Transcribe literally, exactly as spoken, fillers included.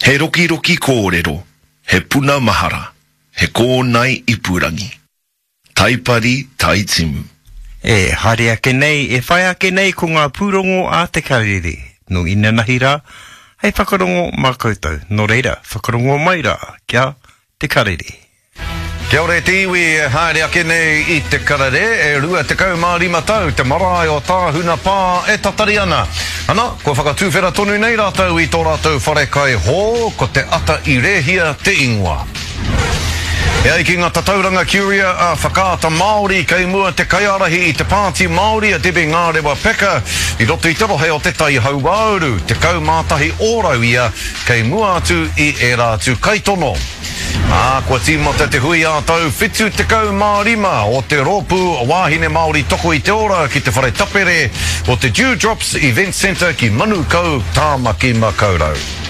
He rokiroki kōrero, he puna mahara, he kōnae ipurangi. Taipari Taitimu. E haere ake nei, e whai ake nei ko ngā pūrongo a Te Karere. Nō inanahi rā, hei whakarongo mā koutou. Nō reira, whakarongo mai rā kia Te Karere. Kia ora e te iwi e haere ake nei i Te Karere, e rua tekau mā rima tau te marae o Tāhuna Pā e tatari ana. Ana, kua whakatuwhera tonu nei rātou i tō rātou wharekai hō, ko Te Ata i Rēhia te ingoa. E ai ki ngā tatauranga Curia a Whakaata Māori, kei mua te kaiārahi i te Pāti Māori a Debbie Ngārewa Peka i roto i te rohe o Te Tai Hauāuru, tekau mā tahi ōrau ia kei mua atu i ērā atu kaitono. Ā, kua tīmata te hui ā-tau whitu tekau mā rima o te Rōpū Wāhine Māori Toko i te Ora ki te whare tapere o te Dew Drops Event Centre ki Manukau, Tāmaki Makaurau.